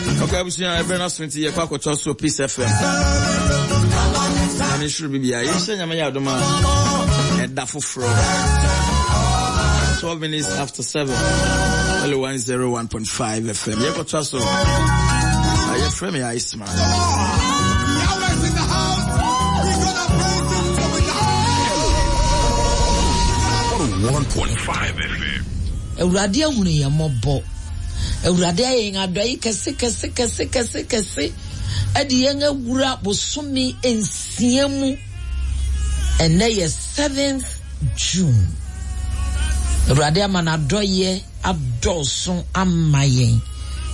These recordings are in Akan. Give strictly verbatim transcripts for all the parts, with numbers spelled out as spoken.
Okay, abusua ɛbɛn aso nti yɛkɔ akɔtɔ so Peace F M. Nyame soro bibia yɛhyɛ Nyame yɛ adom a ɛda foforɔ, twelve minutes after seven, Hello one oh one point five F M. Yɛkɔtoa so. Yɛfrɛ me Iceman. Yahweh's in the house. We gonna praise him till we die. one oh one point five F M. Awurade ahunu yɛn mmɔbɔ. Awurade ayɛ yɛn adɔe kɛse kɛse kɛse kɛse kɛse, ɛde yɛn awura bosome nsia mu. Ɛnɛ yɛ seventh June. Awurade ama n'adɔyɛ adɔɔso ama yɛn.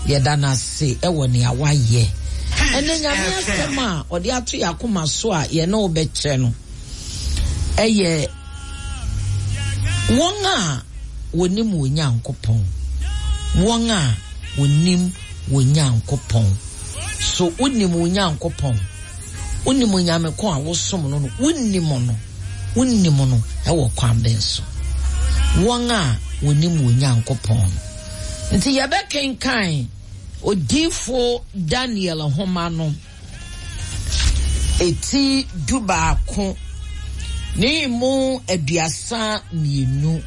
Yɛda n'ase ɛwɔ nea wayɛ. Ɛnɛ Nyame asɛm a ɔde ato yɛn akoma so a yɛne wo bɛkyɛ no ɛyɛ wɔn a wɔnim wɔn Nyankopɔn. Wɔn a wɔnim wɔn Nyankopɔn. So wonim wɔn Nyankopɔn? Wonim Onyame ko a wosom no no Wonim no? Wonim no ɛwɔ kwan bɛn so? Wɔn a wɔnim wɔn Nyankopɔn no. Nti yɛbɛkenkan Odiifo Daniel nhoma no eti du baako ne mu aduasa mmienu.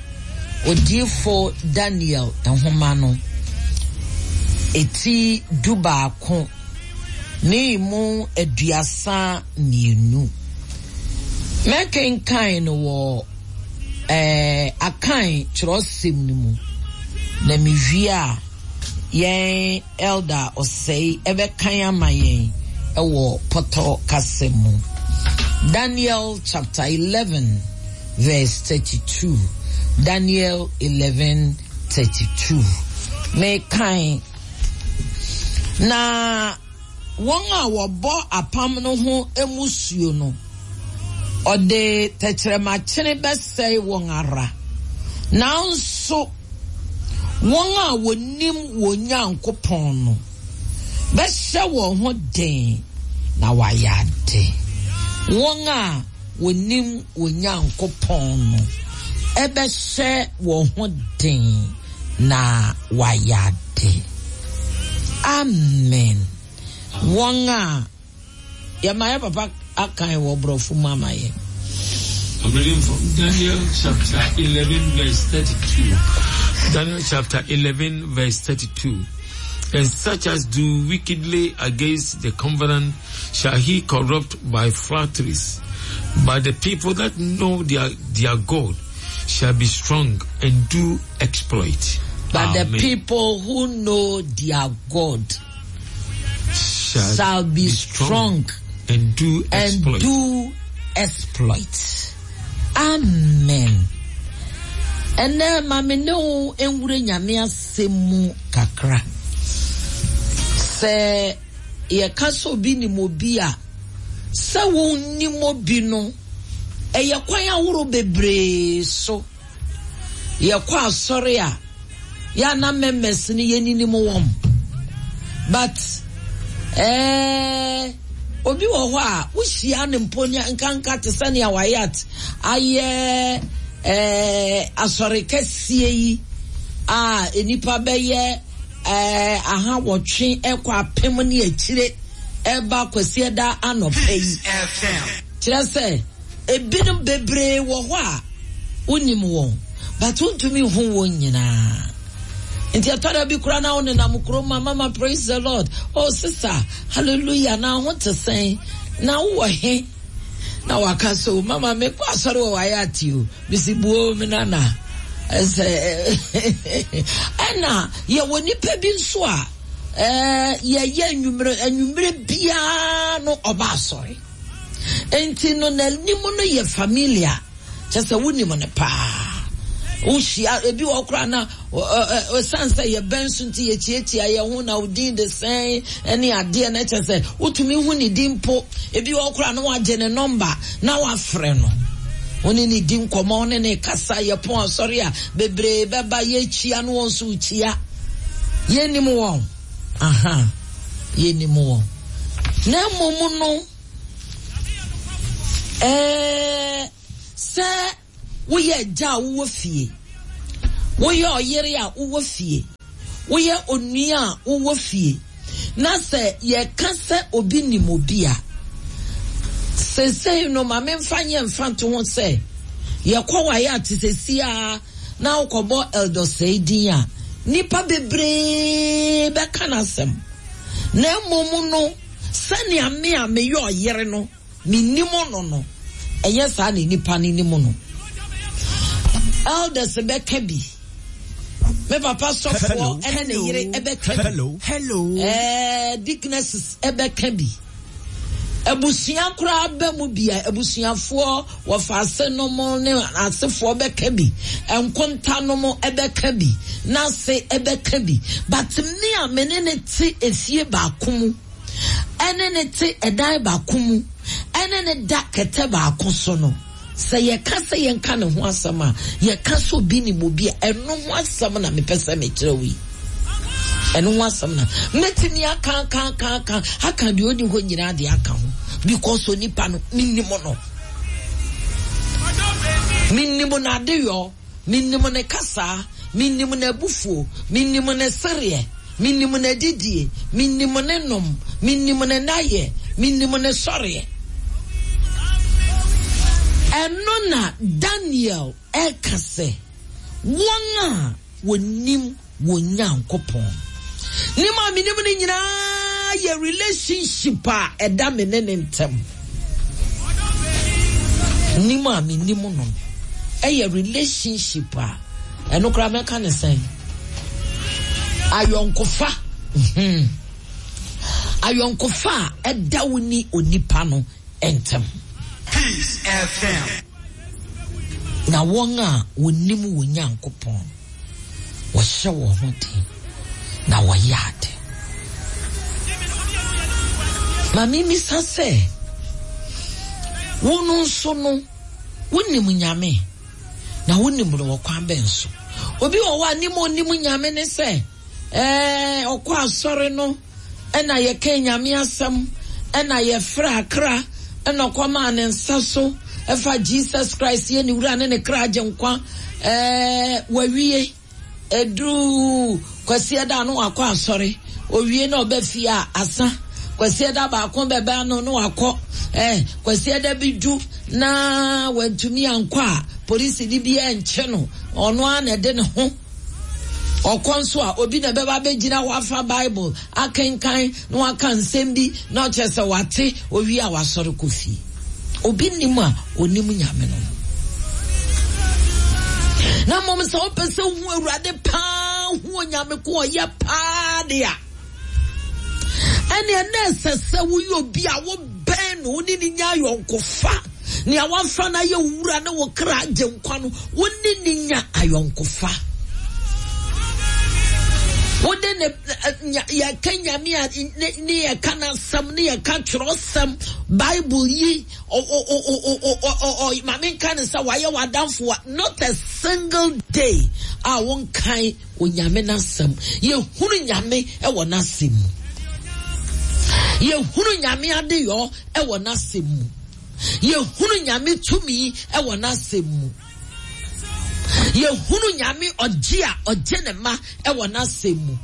Odiifo Daniel nhoma no eti du baako ne mu aduasa mmienu. Mɛkenkan no wɔ ɛɛ Akan kyerɛwsɛm no mu, na mewie a, yɛn Elder Ɔsɛe ɛbɛkan ama yɛn ɛwɔ Pɔtɔ kasa mu. Daniel chapter eleven verse thirty-two. Daniel eleven thirty-two. Mekan na wɔn a wɔbɔ apam no ho emusuo no, ɔde tɛkyerɛmakyene bɛsɛe wɔn ara, nanso wɔn a wɔnim wɔn Nyankopɔn no bɛhyɛ wɔn ho den na wɔayɛ ade. Wɔn a wɔnim wɔn Nyankopɔn no ɛbɛhyɛ wɔn ho den na wɔayɛ ade. Amen. Wɔn a yɛma yɛ papa akan wɔ borɔfo mu ama yɛn. I'm reading from Daniel chapter eleven, verse thirty-two. Daniel chapter eleven, verse thirty-two. And such as do wickedly against the covenant shall he corrupt by flatteries. But the people that know their, their God shall be strong and do exploit. But the Amen. People who know their God shall, shall be strong and do and exploit. Do exploit. Amen. Ɛnɛ ma me ne wo nwura Nyame asɛm mu kakra. Sɛ yɛka sɛ obi nim obi a, sɛ wonnim obi no, ɛyɛ kwan ahorow bebree so. Yɛkɔ asɔre a, yɛana members no yɛninim wɔn, but ɛɛ obi wɔ hɔ a wohyia ne mpo ne nkanka te sɛnea wayɛ at ayɛ ɛɛ asɔre kɛseɛ yi a nipa bɛyɛ ɛɛ aha wɔtwe ɛkɔ apem ne akyire ɛba Kwasiada anɔpɛ yi, kyerɛ sɛ ebinom bebree wɔ hɔ a wonim wɔn, but wontumi hu wɔn nyinaa. Nti ɛtɔ da bi koraa na wo nenam kurom ma, "Mama, praise the Lord. Oh sister, hallelujah. Na ho te sɛn? Na wowɔ he?" Na waka so, "Mama, mekɔ asɔre wɔ wayɛ ate o." Mesi buo me nana ɛsɛ. Ɛna yɛwɔ nipa bi nso a ɛɛ yɛyɛ anwummerɛ anwummerɛ biara no ɔba asɔre, nti no n'anim no yɛ familiar, kyɛ sɛ wonim no paa. Wohyia ebi wɔ koraa na ɔsan sɛ yɛbɛn so nti yɛkyiakyia yɛn ho, na odin de sɛn ne adeɛ no, kyɛ sɛ wotumi hu ne din mpo. Ebi wɔ koraa na wagye ne number na wafrɛ no, wone ne di nkɔmmɔ, wone ne kasa. Yɛpɔn asɔre a, bebree bɛba, yɛkyia no, wɔn nso kyia. Yɛnim wɔn aha, yɛnim wɔn. Na mmom no, ɛɛ sɛ woyɛ agya a wowɔ fie, woyɛ ɔyere a wowɔ fie, woyɛ onua a wowɔ fie, Na sɛ yɛka sɛ obi nim obi a, seesei no ma memfa nyɛ mfa nto ho sɛ yɛkɔ waeɛ a te sɛ siaa na wokɔbɔ Elder Osei din a, nnipa bebree bɛka n'asɛm. Na mmom no, sɛnea me a meyɛ ɔyere no, menim no no, ɛnyɛ saa na nnipa no nim no. Elders bɛka bi. Me papa sɔfoɔ ɛne ne yere ɛbɛka bi. Hello. Hello. Eh, deaconesses ɛbɛka bi. Abusua koraa bɛ mu bi a abusuafoɔ wɔfa ase nom ne asefoɔ bɛka bi. Nkonta nom ɛbɛka bi. N'ase ɛbɛka bi. But me a me ne ne te efie baako mu, ɛne ne te ɛdan baako mu, ɛne ne da kɛtɛ baako so no, sɛ yɛka sɛ yɛnka ne ho asɛm a, yɛka sɛ obi nim obi a, ɛno ho asɛm na mepɛ sɛ mekyerɛ wo yi. Ɛno ho asɛm na mɛtumi aka aka aka aka aka deɛ ɔni hɔ nyinaa de aka ho, because onipa no menim no, menim n'adeyɔ, menim ne kasa, menim n'abufuo, menim ne sereɛ, menim n'adidie, menim ne nom, menim ne nayɛ, menim ne sɔreɛ. Ɛno na Daniel ɛka sɛ wɔn a wɔnim wɔn Nyankopɔn. Nim a menim no nyinaa yɛ relationship a ɛda me ne ne ntam. Nim a menim no ɛyɛ relationship a ɛno koraa mɛka ne sɛn, ayɔnkofa. Mhm. Ayɔnkofa a ɛda wo ne onipa no ntam. Peace F M. Na wɔn a wɔnim wɔn Nyankopɔn, wɔhyɛ wɔn ho den na wɔyɛ ade. Ma mimisa sɛ, wo no nso no, wonim Nyame, na wonim no wɔ kwan bɛn so? Obi wɔ hɔ a nim onim Nyame ne sɛ, ɛɛ, ɔkɔ asɔre no, ɛna yɛka Nyame asɛm, ɛna yɛfrɛ akra, ɛna ɔkɔmaa ne nsa so, ɛfa Jesus Christ yɛ ne wura ne ne kra agye nkwa, ɛɛ, wawie. Eduru Kwasiada no wakɔ asɔre, owie na ɔbɛ fie a asa. Kwasiada baako bɛbɛ ano no wakɔ, eh, Kwasiada bi du na wantumi ankɔ a, polisi ni bi ɛnkyɛ no, ɔno ara na ɛde ne ho. Ɔkɔ nso a obi na bɛba bɛgyina hɔ afa Bible akenkan na waka nsɛm bi na ɔkyerɛ sɛ wate, owie a wasɔre kɔ fie. Obi nim a onim Nyame no. Na mmom sɛ wopɛ sɛ wohu Awurade paa, hu Onyame ko ɔyɛ paa de a, ɛnneɛ na ɛsɛ sɛ woyɛ obi a wobɛn no, wo ne ne nya ayɔnkofa. Nea wamfa no ayɛ wo wura ne wo kra agye nkwa no, wo ne ne nya ayɔnkofa. Wode ne, yɛka Nyame a, ne, ne yɛka n'asɛm, ne yɛka twerɛsɛm, Bible yi, o, o, o, o, o, o, o, o, ma menka ne sɛ wayɛ w'adamfo a, not a single day a wonkan Onyame n'asɛm. Yɛhunu Nyame ɛwɔ n'asɛm mu. Yɛhunu Nyame adeyɔ ɛwɔ n'asɛm mu. Yɛhunu Nyame tumi ɛwɔ n'asɛm mu. Yɛhunu Nyame ɔgye a ɔgye ne ma ɛwɔ n'asɛm mu.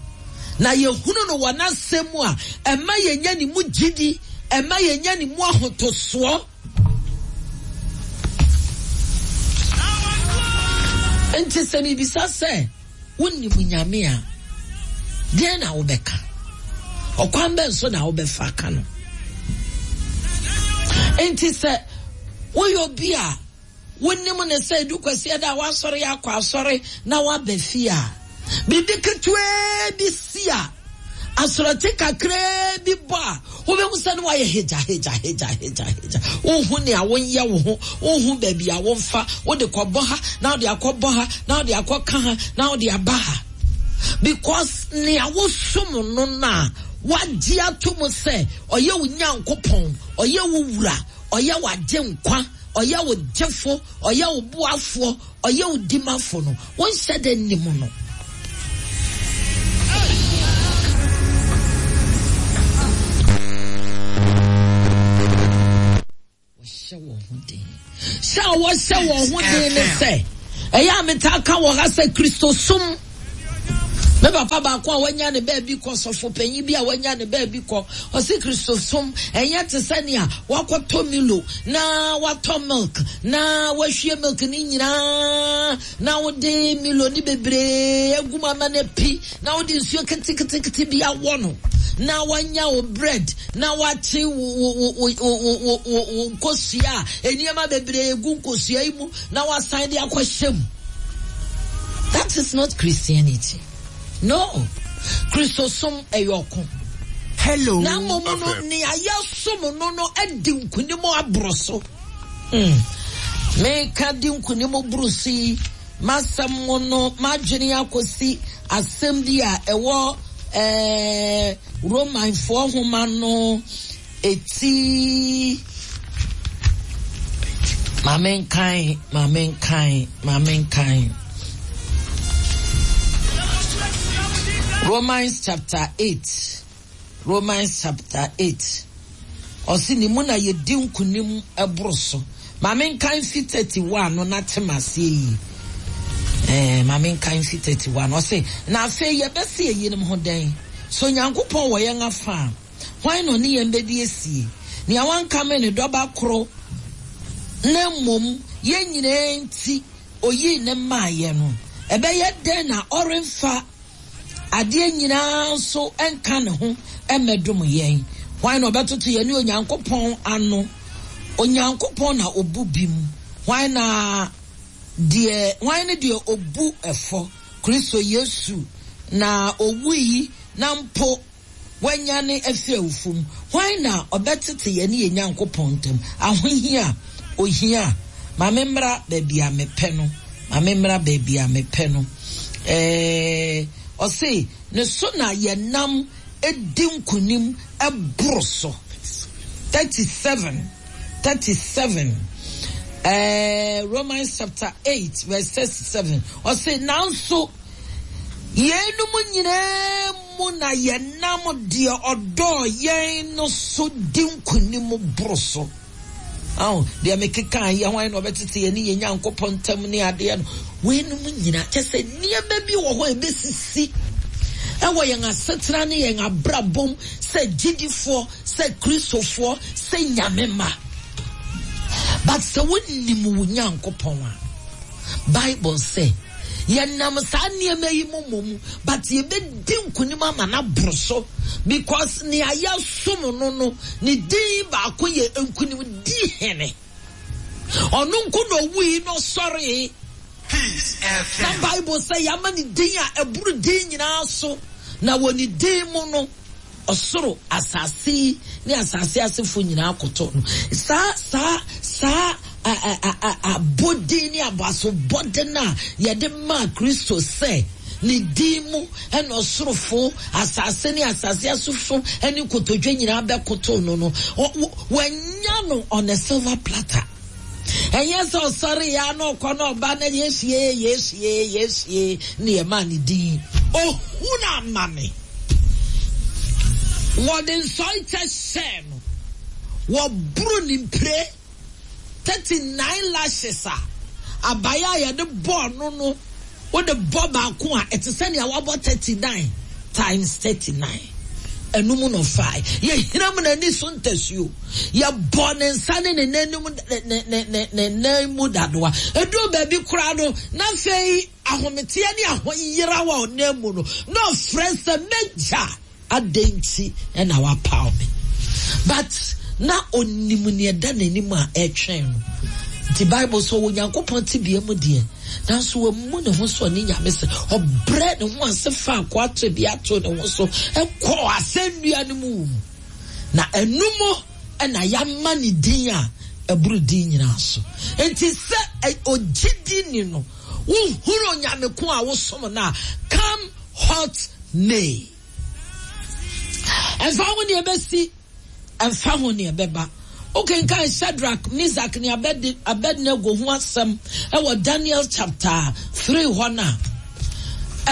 Na yɛhunu no wɔ n'asɛm mu a, ɛma yɛnya ne mu gyidi, ɛma yɛnya ne mu ahotosoɔ. Nti sɛ mibisa sɛ wonim Nyame a, deɛn na wobɛka? Ɔkwan bɛn so na wobɛfa aka no? Nti sɛ woyɛ obi a wonim ne sɛ edu Kwasiada a wasɔre akɔ asɔre na waba fie a, biribi ketewa bi si a, asorɔkye kakraa bi bɔ a, wobɛhu sɛ ne wayɛ hegya, hegya, hegya, hegya, hegya. Wonhu nea wonyɛ wo ho, wonhu baabi a womfa, wode kɔbɔ ha, na wode akɔbɔ ha, na wode akɔka ha, na wode aba ha. Because nea wosom no na wagye ato mu sɛ ɔyɛ wo Nyankopɔn, ɔyɛ wo wura, ɔyɛ w'agye nkwa, ɔyɛ wo gyefo, ɔyɛ wo boafoɔ, ɔyɛ wo dimafo no, wonhyɛ dɛ nnim no. Wɔhyɛ wɔn ho den. Sɛ wɔhyɛ wɔn ho den ne sɛ, ɛyɛ a metaa ka wɔ ha sɛ Kristosom Me papa baako a wanya ne baabi kɔ, sɔfo panyin bi a wanya ne baabi kɔ, ɔse Kristosom ɛnyɛ te sɛ nea wakɔtɔ Milo na watɔ milk na wahwie milk ne nyinaa na wode Milo ne bebree agu mu ama no api na wode nsuo ketekete bi awɔ no na wanya wo bread na wakye wo wo wo wo wo wo nkosua a nneɛma bebree gu nkosua yi mu na wasan de akɔhyɛ mu. That is not Christianity. No. Kristosom ɛyɛ ɔko. Hello. Na mmom no nea yɛsom no no adi nkonim aboro so. Mm. Meka di nkonim boro so yi, m'asɛm mu no, m'adwene akɔsi asɛm bi a ɛwɔ eh, Romanfoɔ nhoma no eti. Ma menkan, ma menkan, ma menkan. Romans chapter eight. Romans chapter eight. Ɔsi ne mu na yɛdi nkonim ɛboro so. Ma menkan fi thirty-one no na te m'aseɛ yi. Eh, ma menkan fi thirty-one. Ɔsi na afei yɛbɛsi eyinom ho dɛn? So Nyankopɔn wɔ yɛn afa a, hwan na ɔne yɛn bɛdi esie? Nea wankame ne dɔba koro na mmom yɛn nyinaa nti oyii ne mmaayɛ no. Ɛbɛyɛ dɛn na ɔremfa adeɛ nyinaa nso nka ne ho mmɛdom yɛn? Hwan na ɔbɛtoto yɛn ne Onyankopɔn ano? Onyankopɔn na obu bi mu. Hwan na deɛ, hwan ne deɛ obu ɛfɔ? Kristo Yesu na owui na mpo wanyane afi awufo mu. Hwan na ɔbɛtete yɛn ne yɛn Nyankopɔn ntam? Ahohia, ohia. Ma me mmra baabi a mepɛ no. Ma me mmra baabi a mepɛ no. Eh, ɔse, ne so na yɛnam edi nkonim ɛboro so. thirty-seven. thirty-seven. Eh, Romans chapter eight, verse thirty-seven. Ɔse, nanso yɛnum nyinaa mu na yɛnam deɛ ɔdɔɔ yɛn no so di nkonim boro so. Oh, deɛ mekeka yɛ hwan na ɔbɛtete yɛn ne yɛn Nyankopɔn ntam ne adeɛ no. Weinom nyinaa, kyɛ sɛ nneɛma bi wɔ hɔ a ɛbɛsisi ɛwɔ yɛn asetena ne yɛn abrabom sɛ gyidifoɔ, sɛ Kristofoɔ, sɛ Nyame mma. But sɛ wonim wo Nyankopɔn a, Bible sɛ yɛnam saa nneɛma yi mu mmom, but yɛbɛdi nkonim ama no aboro so, because nea yɛsom no no, ne din baako yɛ nkonim di hene. Ɔno nko na owui na ɔsɔree. Peace F M. Na Bible sɛ yɛama ne din a ɛboro din nyinaa so, na wɔ ne din mu no, ɔsoro, asase ne asase asefo nyinaa koto no. Saa, saa, saa, a, a, a, a, abodin ne abasobɔden a yɛde maa Kristo sɛ ne din mu ɛna ɔsorofo, asase ne asase asefo ne nkotodwe nyinaa bɛkoto no no. Ɔ-, wɔ-, wanya no on a silver platter. Ɛnyɛ sɛ ɔsɔre ya na ɔkɔ na ɔba na Yesu ye, Yesu ye, Yesu ye, ne yɛ maa ne din. Ohu na ama me. Wɔde nsɔre kyɛ hyɛɛ no. Wɔboro ne mpire thirty-nine lashes a abaya a yɛde bɔɔ no no, wode bɔ baako a ɛte sɛ nea wabɔ thirty-nine times thirty-nine. Ɛnum no five. Yɛhina mu n'ani so ntasuo. Yɛbɔ ne nsa ne ne nan mu, ne, ne, ne, ne, ne nan mu dadoa. Eduru baabi koraa no, na afei ahometeɛ ne ahoyera wɔ ɔnan mu no, na ɔfrɛ sɛ m'agya adɛn nti ɛna wapaw me. But na onim nea ɛda n'anim a ɛretwɛn no. Nti Bible sɛ ɔwɔ Onyankopɔn tebea mu deɛ, nanso wammu ne ho so ɔne Nyame sɛ ɔbrɛ ne ho ase fa akoa tebea to ne ho so ɛkɔ asɛnnua no mu wɔ mu. Na ɛno mu ɛna yɛama ne din a ɛboro din nyinaa so. Nti sɛ ɛ-, ogyidi ni no, wohunu Onyame ko a wosom no a, come hot may. Ɛmfa ho nea ɛbɛsi, ɛmfa ho nea ɛbɛba. Wokenkan Shadrach, Meshach ne Abed-, Abednego ho asɛm ɛwɔ Daniel chapter three hɔ no a,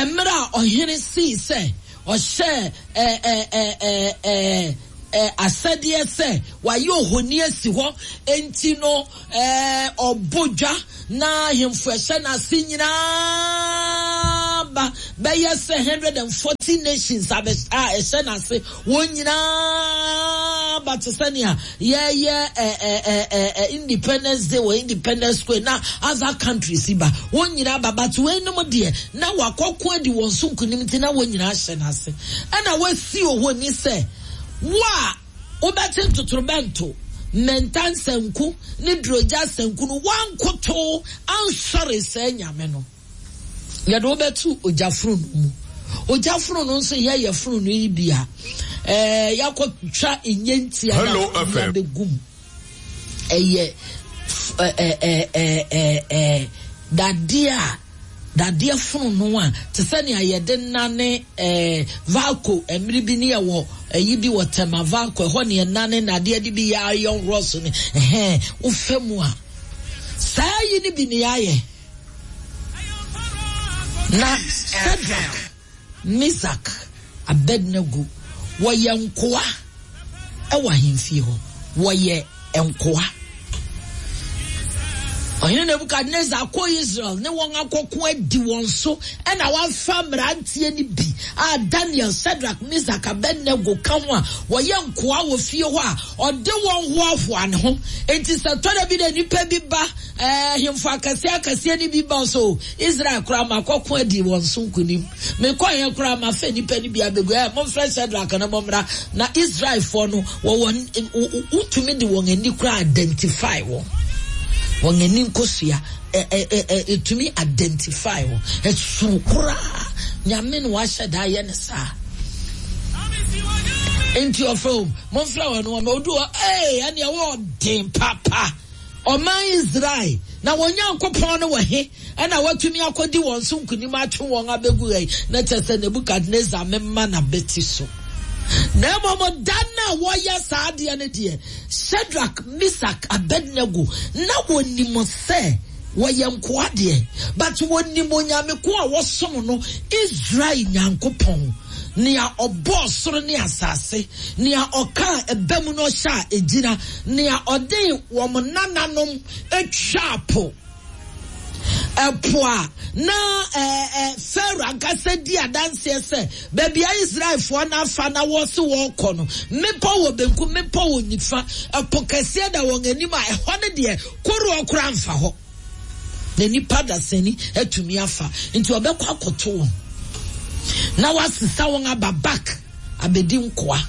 mmerɛ a ɔhene sii sɛ ɔhyɛ, ɛ, ɛ, ɛ, ɛ, ɛ, ɛ, asɛdeɛ sɛ wayɛ ohoni asi hɔ, enti no, ɛ, ɔbɔ dwa na ahemfo ɛhyɛ n'ase nyinaa aba bɛyɛ sɛ hundred and forty nations a ɛhyɛ n'ase wɔn nyinaa ba te sɛ nea yɛyɛ ɛ ɛ ɛ Independence Day wɔ Independence Square na other countries ba wɔn nyinaa ba, but weinom deɛ na wakɔko adi wɔn so nkunim nti na wɔn nyinaa hyɛ n'ase. Ɛna wasi ohoni sɛ wo a wobɛte ntotorobɛnto, mmɛnta nsanku ne durogya sanku no, wankoto ansɔre sɛ Nyame no, yɛde wobɛto ogya fononoo mu. Ogya fononoo nso yɛyɛ fononoo yi bi a ɛɛ yɛakɔtwa nnyentia na yɛabɛgu mu. Ɛyɛ ɛɛ ɛɛ ɛɛ dadeɛ a dadeɛ fononoo a te sɛ nea yɛde nane ɛɛ Valco mmere bi ne yɛwɔ ɛyi bi wɔ Tema Valco ɛhɔ ne yɛnane nadeɛ de bi yɛ iron rods ne ɛhɛn wofa mu a saa yi ne bi ne yɛayɛ. Na Shadrach, Meshach, Abednego wɔyɛ nkoa ɛwɔ ahemfie hɔ, wɔyɛ nkoa. Ɔhene Nebukadnezar kɔ Israel ne wɔn akɔko adi wɔn so ɛna wafa mmeranteɛ no bi a Daniel, Shadrach, Meshach, Abednego ka ho a wɔyɛ nkoa wɔ fie hɔ a ɔde wɔn hoahoa ne ho. Enti sɛ tɔda bi na nipa bi ba ɛɛ hemfo akɛseɛ akɛseɛ no bi ba so Israel koraa ma akɔko adi wɔn so nkunim. Mekɔ yɛn koraa ma fɛ nipa no bi abegu ɛ momfrɛ Shadrach na mommra na Israelfoɔ no wɔwɔ wotumi de wɔn ani koraa identify wɔn. Wɔn ani nkosua ɛ ɛ ɛ ɛtumi identify wɔn. Ɛsoro koraa Nyame na wahyɛ da ayɛ ne saa. Nti ɔfrɛ wɔn, momfrɛ wɔn wɔn odu hɔ ee ɛnea wɔɔden papa. Ɔman Israel na wɔn Nyankopɔn no wɔ he ɛna watumi akɔdi wɔn so nkunim atwe wɔn abɛgu ha yi na kyerɛ sɛ Nebukadnezar mema n'abɛti so. Na mmom da no a wɔyɛ saa adeɛ no deɛ, Shadrach, Meshach, Abednego na wɔnim sɛ wɔyɛ nkoa deɛ, but wɔnim Onyame ko a wɔsom no, Israel Nyankopɔn, nea ɔbɔɔ soro ne asase, nea ɔkaa ɛbɛ mu no ɔhyɛ a egyina, nea ɔde wɔn nananom atwa po. Ɛpo a na ɛɛ ɛ Pharaoh ankasa di adanseɛ sɛ baabi a Israelfoɔ no afa na wɔsi wɔrekɔ no, mmepɔ wɔ benkum, mmepɔ wɔ nifa, ɛpo kɛseɛ da wɔn anim a ɛhɔ no deɛ koroɔ koraa mfa hɔ. Na nipa dasani atumi afa nti ɔbɛkɔ akɔto wɔn na wasesa wɔn aba back abɛdi nkoa.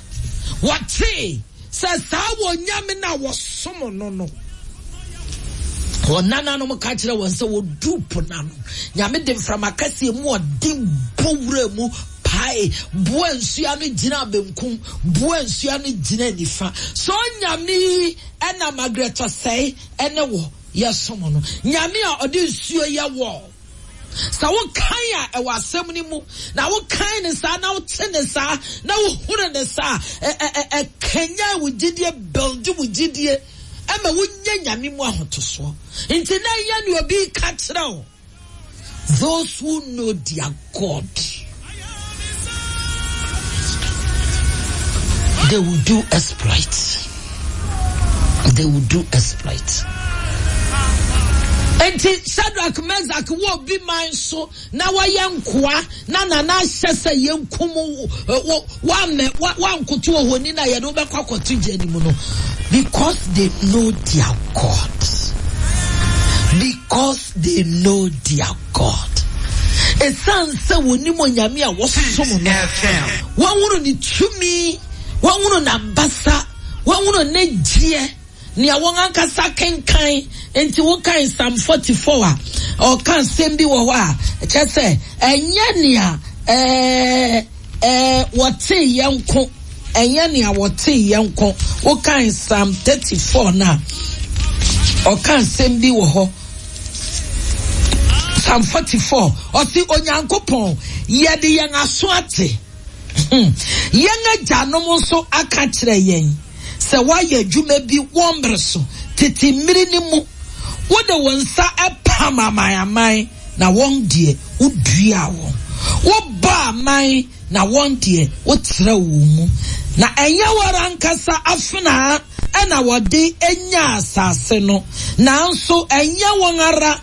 Wɔtee sɛ saa wɔ Nyame na wɔsom no no. Wɔn nananom ka kyerɛ wɔn sɛ wɔduru po n'ano. Nyame de mframa kɛseɛ mu ɔden bɔ wura mu pae, boa nsuo ano gyina benkum, boa nsuo ano gyina nifa. So Nyame yi ɛna Margaret Osei ɛne wɔ yɛsom no. Nyame a ɔde nsuo yɛ wɔ. Sɛ wokan a ɛwɔ asɛm no mu, na wokan ne saa, na wote ne saa, na wohunu ne saa, ɛkanyan wo gyidie, build wo gyidie, ɛma wonya Nyame mu ahotosoɔ. Nti na ɛnyɛ nea obi ka kyerɛ wo. Those who know their God, they will do exploits. They will do exploits. Enti Shadrach, Meshach wɔ obi man so na wɔyɛ nkoa na nana ahyɛ sɛ yɛnkum wo wammɛ wankoto ohoni na yɛde wobɛkɔ akɔto gya no mu no, because they know their God. Because they know their God. Ɛsiane sɛ wɔnim Onyame a wɔsom no, wɔhunu ne tumi, wɔhunu n'abasa, wɔhunu ne gyeɛ, nea wɔn ankasa kenkan. Nti wokan Psalm forty-four a ɔka asɛm bi wɔ hɔ a kyerɛ sɛ ɛnyɛ nea ɛɛ ɛɛ wɔte yɛn nko, ɛnyɛ nea wɔte yɛn nko. Wokan Psalm thirty-four na ɔka asɛm bi wɔ hɔ. Psalm forty-four ɔsi Onyankopɔn yɛde yɛn aso ate, yɛn agyanom nso aka kyerɛ yɛn sɛ woayɛ adwuma bi wɔn mmere so tete mmiri ne mu, wode wɔn nsa apam aman aman na wɔn deɛ wodua wɔn, wobɔ aman na wɔn deɛ wotrɛ wɔn mu, na ɛnyɛ wɔn ankasa afenaa ɛna wɔde anya asase no, nanso ɛnyɛ wɔn ara